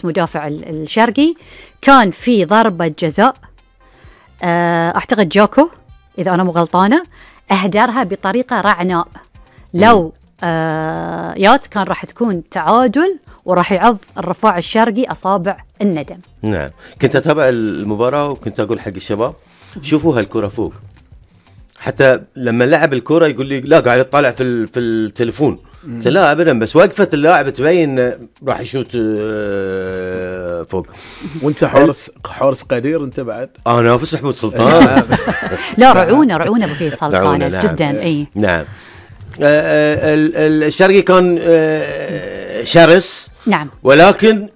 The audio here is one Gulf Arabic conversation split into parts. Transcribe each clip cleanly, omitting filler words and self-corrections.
مدافع الشرقي كان في ضربة جزاء، أعتقد جاكو إذا أنا مو غلطانة أهدرها بطريقة رعناء. لو يات كان راح تكون تعادل وراح يعض الرفاع الشرقي أصابع الندم. نعم، كنت أتابع المباراة وكنت أقول حق الشباب شوفوا هالكرة فوق، حتى لما لعب الكرة يقول لي لا قاعد يطالع في التليفون. لا أبدا، بس وقفة اللاعب تبين راح يشوت فوق. وانت حارس قدير انت بعد. أنا نافس حمود سلطان. لا رعونة أبو فيصل كانت جدا. أي نعم. الشرقي كان شرس. نعم. ولكن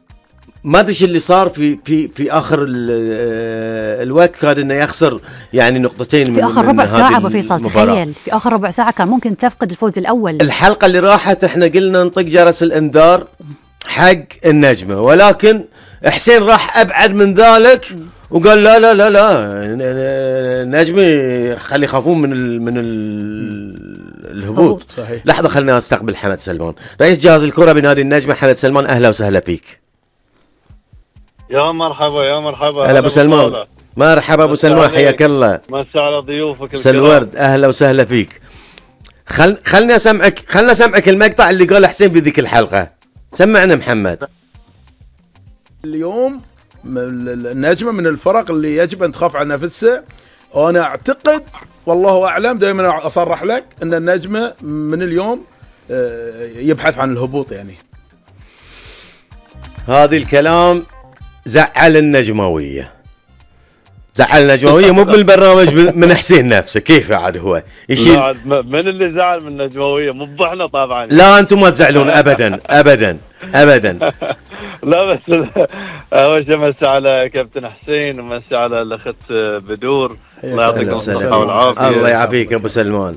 ما ادري اللي صار في اخر الوقت، كان انه يخسر يعني نقطتين في اخر ربع ساعه. ابو فيصل تخيل في اخر ربع ساعه كان ممكن تفقد الفوز الاول. الحلقه اللي راحت احنا قلنا نطق جرس الانذار حق النجمه، ولكن حسين راح ابعد من ذلك وقال لا لا لا لا النجمه خلي يخافون من الهبوط. صحيح. لحظه خلنا استقبل حمد سلمان، رئيس جهاز الكره بنادي النجمه. حمد سلمان اهلا وسهلا فيك. يا مرحبا يا مرحبا. هلا ابو سلمان. مرحبا ابو سلمان، حياك الله. مسا على ضيوفك سلورد اهلا وسهلا فيك. خلنا اسمعك المقطع اللي قاله حسين بذيك الحلقه. سمعنا محمد. اليوم النجمه من الفرق اللي يجب ان تخاف على نفسها، وانا اعتقد والله اعلم دائما اصرح لك ان النجمه من اليوم يبحث عن الهبوط. يعني هذه الكلام زعل النجمويه مو بالبرنامج من حسين نفسه. كيف عاد هو يشيل؟ من اللي زعل من النجمويه؟ مو احنا طبعا. لا انتم ما تزعلون ابدا ابدا ابدا. لا بس اول شيء مسي على كابتن حسين ومسي على الاخت بدور. الله يعطيكم الصحه والعافيه. الله يعافيك ابو سلمان.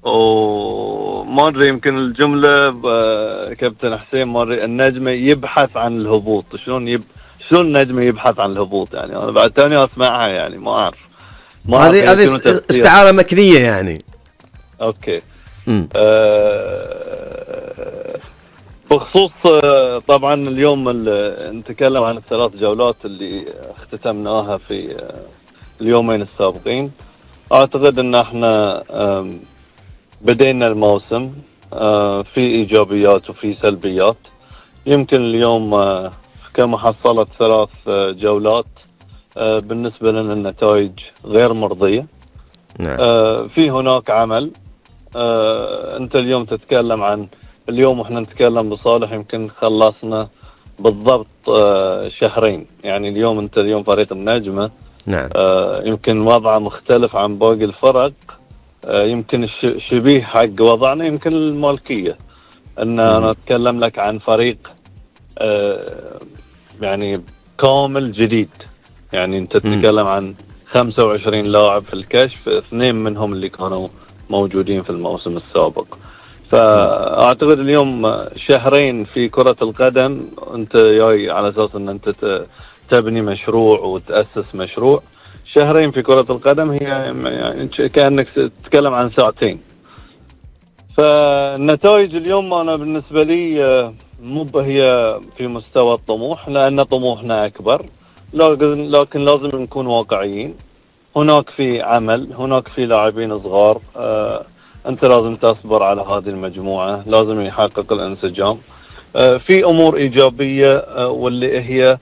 وما ادري يمكن الجمله كابتن حسين ما ادري النجمه يبحث عن الهبوط. شلون النجمه يبحث عن الهبوط؟ يعني انا بعد ثاني اسمعها، يعني ما اعرف. هذه استعاره مكنيه يعني. اوكي. بخصوص طبعا اليوم نتكلم عن الثلاث جولات اللي اختتمناها في اليومين السابقين. اعتقد ان احنا بدينا الموسم في ايجابيات وفي سلبيات. يمكن اليوم كمحصلة 3 جولات بالنسبة لنا النتائج غير مرضية. نعم. في هناك عمل. انت اليوم تتكلم عن اليوم واحنا نتكلم بصالح يمكن خلصنا بالضبط شهرين. يعني اليوم فريق النجمة. نعم. يمكن وضعه مختلف عن باقي الفرق. يمكن شبيه حق وضعنا يمكن المالكية. أنا أتكلم لك عن فريق يعني كامل جديد. يعني أنت تتكلم عن 25 لاعب في الكشف، 2 منهم اللي كانوا موجودين في الموسم السابق. فأعتقد اليوم شهرين في كرة القدم أنت جاي على أساس أن أنت تبني مشروع وتأسس مشروع. شهرين في كرة القدم هي يعني كأنك تتكلم عن ساعتين. فالنتائج اليوم أنا بالنسبة لي مو هي في مستوى الطموح، لأن طموحنا أكبر، لكن لازم نكون واقعيين. هناك في عمل، هناك في لاعبين صغار. أنت لازم تصبر على هذه المجموعة، لازم يحقق الانسجام. في أمور إيجابية واللي هي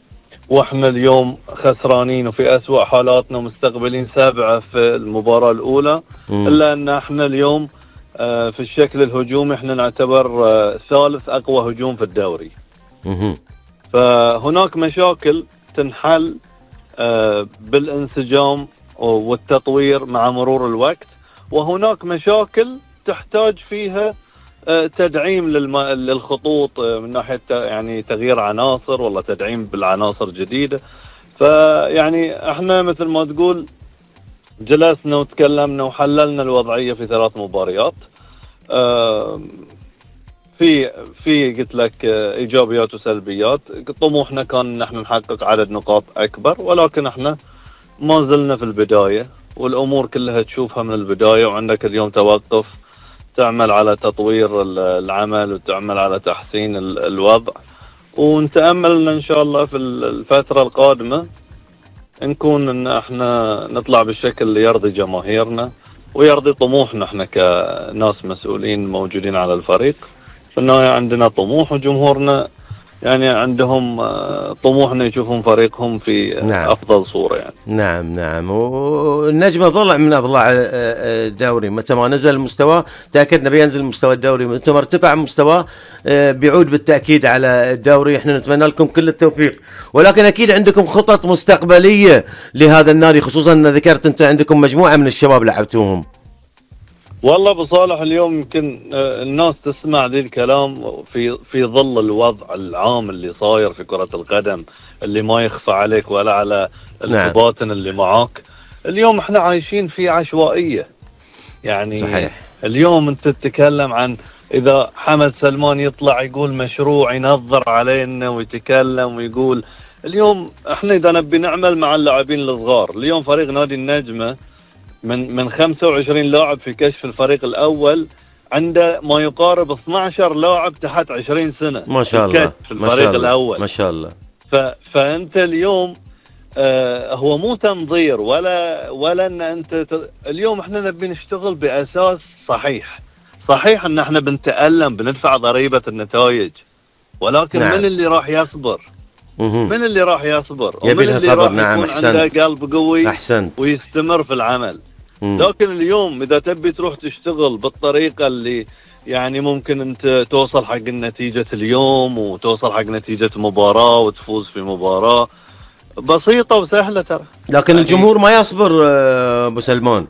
واحنا اليوم خسرانين وفي أسوأ حالاتنا مستقبلين 7 في المباراة الأولى. إلا أن احنا اليوم في الشكل الهجومي احنا نعتبر 3 أقوى هجوم في الدوري. فهناك مشاكل تنحل بالانسجام والتطوير مع مرور الوقت، وهناك مشاكل تحتاج فيها تدعيم للخطوط من ناحية يعني تغيير عناصر ولا تدعيم بالعناصر جديدة. فيعني احنا مثل ما تقول جلسنا وتكلمنا وحللنا الوضعية في 3 مباريات. في قلت لك ايجابيات وسلبيات. طموحنا كان نحن نحقق عدد نقاط اكبر، ولكن احنا ما زلنا في البداية، والامور كلها تشوفها من البداية. وعندك اليوم توقف تعمل على تطوير العمل وتعمل على تحسين الوضع. ونتأمل إن شاء الله في الفترة القادمة نكون إن احنا نطلع بالشكل اللي يرضي جماهيرنا ويرضي طموحنا احنا كناس مسؤولين موجودين على الفريق. في النهاية عندنا طموح، وجمهورنا يعني عندهم طموحنا يشوفون فريقهم في نعم. أفضل صورة يعني. نعم والنجمة ضلع من أضلاع الدوري، متى ما نزل المستوى تأكدنا بينزل مستوى الدوري، متى ما ارتفع مستواه بيعود بالتأكيد على الدوري. احنا نتمنى لكم كل التوفيق، ولكن أكيد عندكم خطط مستقبلية لهذا النادي، خصوصا أن ذكرت أنت عندكم مجموعة من الشباب لعبتوهم. والله ابو صالح اليوم يمكن الناس تسمع ذي الكلام في ظل الوضع العام اللي صاير في كرة القدم اللي ما يخفى عليك ولا على الكباتن اللي معاك. اليوم احنا عايشين في عشوائية يعني. صحيح. اليوم انت تتكلم عن اذا حمد سلمان يطلع يقول مشروع ينظر علينا ويتكلم ويقول. اليوم احنا اذا نبي نعمل مع اللاعبين الصغار، اليوم فريق نادي النجمة من 25 لاعب في كشف الفريق الأول عنده ما يقارب 12 لاعب تحت 20 سنة ما شاء الله في الفريق الأول. ما شاء الله. فأنت اليوم هو مو تنظير ولا أن أنت اليوم احنا نبي نشتغل بأساس صحيح أن احنا بنتألم بندفع ضريبة النتائج، ولكن نعم. من اللي راح يصبر؟ من اللي راح يصبر؟ يبي لها صبر. نعم أحسنت. عنده قلب قوي أحسنت. ويستمر في العمل. لكن اليوم إذا تبي تروح تشتغل بالطريقة اللي يعني ممكن أنت توصل حق النتيجة اليوم وتوصل حق نتيجة مباراة وتفوز في مباراة بسيطة وسهلة ترى. لكن يعني الجمهور ما يصبر أبو سلمان.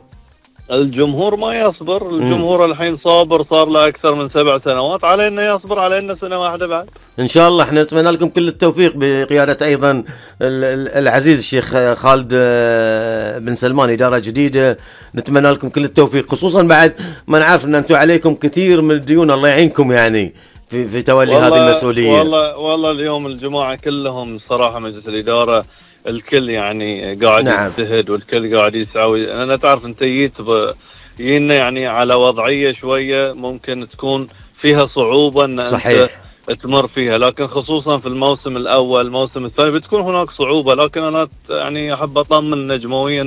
الجمهور ما يصبر. الجمهور الحين صابر صار له أكثر من 7 سنوات، علينا يصبر، علينا سنة واحدة بعد إن شاء الله. احنا نتمنى لكم كل التوفيق بقيادة أيضا العزيز الشيخ خالد بن سلمان، إدارة جديدة. نتمنى لكم كل التوفيق، خصوصا بعد ما نعرف أن أنتم عليكم كثير من الديون، الله يعينكم يعني في تولي هذه المسؤولية. والله اليوم الجماعة كلهم صراحة مجلس الإدارة الكل يعني قاعد نعم. يجتهد والكل قاعد يسعى. أنا تعرف أنت جينا يعني على وضعية شوية ممكن تكون فيها صعوبة أن صحيح. أنت تمر فيها، لكن خصوصا في الموسم الأول الموسم الثاني بتكون هناك صعوبة، لكن أنا يعني أحب أطمن نجمويا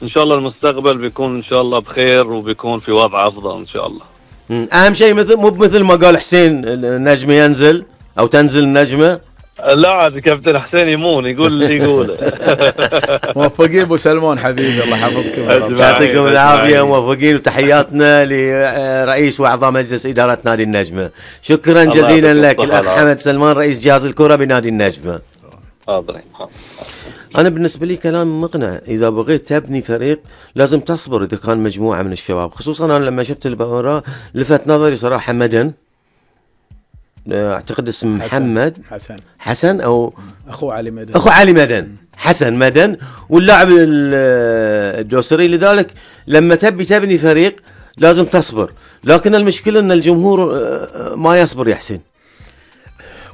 إن شاء الله المستقبل بيكون إن شاء الله بخير وبيكون في وضع أفضل إن شاء الله. أهم شيء مو مثل ما قال حسين النجمة ينزل أو تنزل النجمة. لا عاد كابتن حسين يمون يقول اللي يقوله. موفقين ابو سلمان حبيبي، الله يحفظكم. يعطيكم العافيه، موفقين، وتحياتنا لرئيس واعضاء مجلس اداره نادي النجمه. شكرا جزيلا لك الاخ حمد سلمان رئيس جهاز الكره بنادي النجمه. انا بالنسبه لي كلام مقنع. اذا بغيت تبني فريق لازم تصبر. اذا كان مجموعه من الشباب، خصوصا انا لما شفت المباراه لفت نظري صراحه مدن، اعتقد اسم محمد حسن او اخو علي مدن حسن مدن، واللاعب الدوسري. لذلك لما تبني فريق لازم تصبر، لكن المشكله ان الجمهور ما يصبر يا حسين.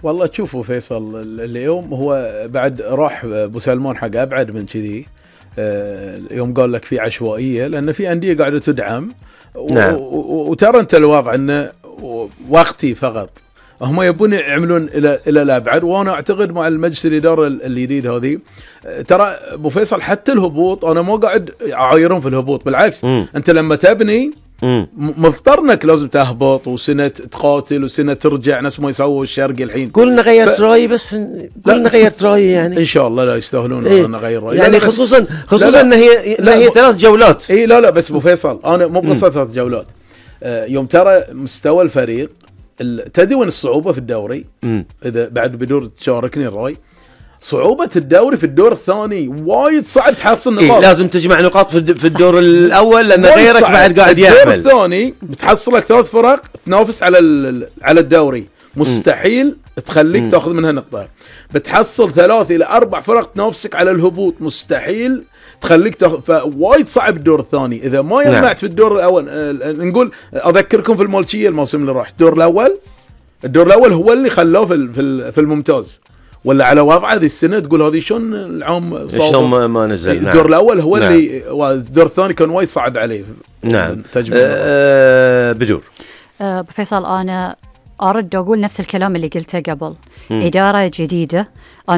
والله تشوفوا فيصل اليوم هو بعد راح ابو سلمان حق ابعد من كذي. يوم قال لك في عشوائيه لان في انديه قاعده تدعم نعم. وترى انت الوضع انه وقتي فقط، هم يبون يعملون الى الابعد. وانا اعتقد مع المجلس الاداره الجديد هذه ترى ابو فيصل حتى الهبوط انا مو قاعد اعايرهم في الهبوط، بالعكس انت لما تبني مضطر انك لازم تهبط وسنه تقاتل وسنه ترجع، نفس ما يسووا الشرقي الحين. كلنا غيرت رايي، بس كلنا غيرت رايي يعني. ان شاء الله لا يستاهلون ان نغير رايي يعني، خصوصا ان هي 3 جولات. اي لا بس ابو فيصل انا مو بقصه 3 جولات. يوم ترى مستوى الفريق تدري وين الصعوبة في الدوري؟ إذا بعد بدور تشاركني الرأي، صعوبة الدوري في الدور الثاني وايد صعب تحصل نقاط. لازم تجمع نقاط في الدور الأول لأن غيرك بعد قاعد يعمل. الدور الثاني بتحصل لك 3 فرق تنافس على الدوري، مستحيل تخليك تاخذ منها نقطة. بتحصل 3 إلى 4 فرق تنافسك على الهبوط، مستحيل تخليك فوايد صعب الدور الثاني اذا ما جمعت في الدور الاول. نقول اذكركم في المالكيه الموسم اللي راح الدور الاول هو اللي خلوه في الممتاز، ولا على وضعه هذه السنه تقول هذه شلون العام صار شلون ما نزل. الدور الاول هو نعم. اللي الدور الثاني كان وايد صعب عليه. نعم. بدور فيصل انا أرد أقول نفس الكلام اللي قلته قبل. إدارة جديدة